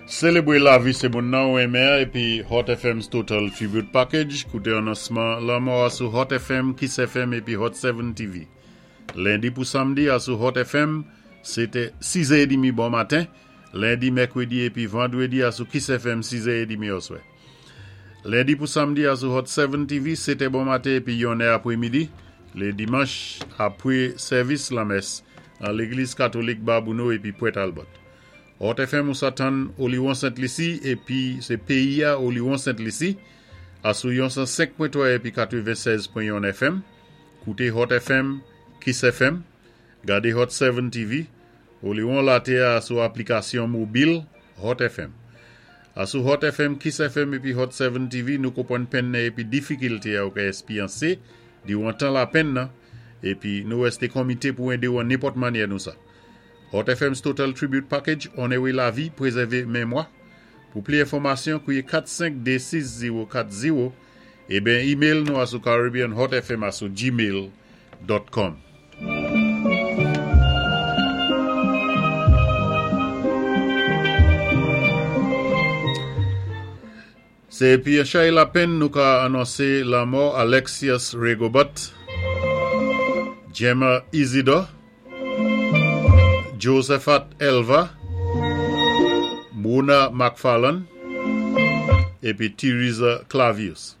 Sélébwé lavi sé moun nan ou renmen an épi Hot FM's Total Tribute Package. Kouté anonsman lanmò a sou Hot FM, Kiss FM épi Hot 7 TV. Lendi pou samdi asou Hot FM, sé té 6 è édmi bon maten, lendi, mèkwédi épi vandwédi asou Kiss FM 6 è édmi oswè. Lendi pou samdi asou Hot 7 TV, 7 è bon maten épi 1 è apwémidi, lé dimanch apwé sèvis lanmès an légliz katolik Babouno épi Pwent Albòt. Hot FM ou sa tann Oliwon Sent Lisi epi se peyi a Oliwon Sent Lisi a sou yon 105.3 epi 96.1 FM. Koute Hot FM, Kiss FM, gade Hot 7 TV, Oliwon late a sou aplikasyon mobil Hot FM. A sou Hot FM, Kiss FM epi Hot 7 TV nou konpwann penn nan epi difikilte a ou ka espyanse diwan tan lapenn nan epi nou rèste konmite pou ede ou an nenpòt manyè nou sa. Hot FM's Total Tribute Package Onere lavi, prezève memwa. Pou pli enfòmasyon, kwiye 4 5 2 6 0 4 0 eben email nou asou caribbeanhotfm asou gmail dot com. Se epi yon chay lapenn nou ka anonse lanmò Alexius Rigobert, Gemma Isidore, Josephat Elva, Mona McFarlane epi Theresa Clavius.